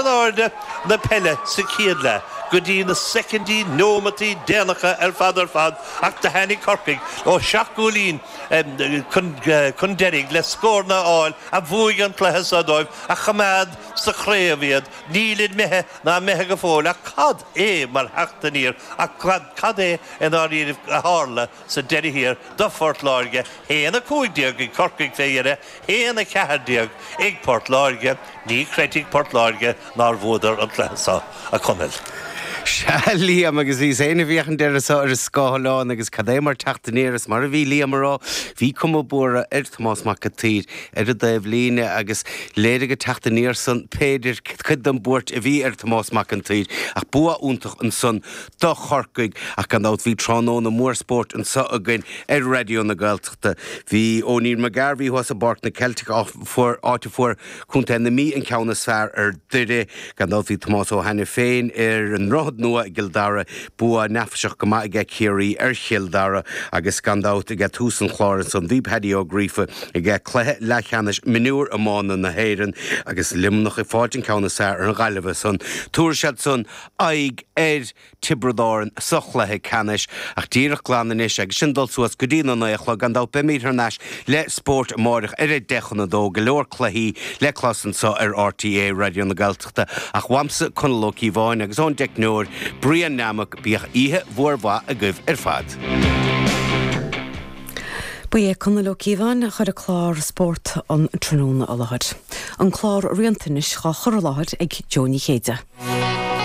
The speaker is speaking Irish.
airde na peile sa chéad leath go dtí na soicindí, neomataí déanacha ar fad ar fad ach do tháinig Corcaigh ó sheacht gcúilín chun deiridh le scóranna a fháil a bhuaigh an cluiche seo dóibh, a choimeád sa chraobh iad. Nílid imithe ná imithe go fóill ach cad é mar theacht aniar ach cad é i ndáiríribh a tharla sa deireadh thiar do Phort Láirge, 1-15 ag Corcaigh fé dheireadh, 1-14 ag Port Láirge. Ní chreidfidh Port Láirge nár bhuadar an cluiche seo, a Chonaill. Sea, Liam, agus bhíos féin ag féachaint air seo ar an scáileán agus cad é mar teacht aniar is mar a bhí Liam a rá, bhí cuma buartha ar Thomás Mac an tSaoir ar an dtaobh líne agus léirigh an teacht aniar san b'fhéidir cuid den buairt a bhí ar Thomás Mac an tSaoir ach bua iontach ansan do Chorcaigh ach gan dabht bhí tráthnóna mór spóirt anseo againn ar Raidió na Gaeltachta. Bhí O'Neill McGarvey thuas i bPáirc na Ceilteach, áit a fuair Contae na Mí an ceann is fearr ar Doire. Gan dabht bhí Tomás Ó hAiniféin ar an nDroichead Nua i gCill Dara, bua neafaiseach go maith aige Ciarraí ar Chill Dara agus gan dabht ag tús an chláir ansan bhí Paddy Ó Gríofa ag cluiche leathcheannais mionúr iomána na hÉireann agus Luimneach ag fáilt an ceann is fearr ar an Ghaillimh ansan. Tabharfaidh siad san aghaidh ar Tiobraid Árann sa chluiche ceannais. Ach díreach glan anois agus sinn ag dul suas go dtí na naoi a chlog, gan dabht beimid thar n-ais le spórt amáireach ar a deich chun a dó, go leor cluichí le clos anseo ar RTÉ Raidió na Gaeltachta. Ach uaimse, Conall Ó Cíobháin, agus ón dteicneoir, Brian Nammock, bíodh oíche mhór mhaith agaibh ar fad. Ba é Conall Ó Cíobháin a chuir an clár Spórt an Tráthnóna i láthair. An clár Rianta anois dhá chur i láthair ag Jó Ní Chéide.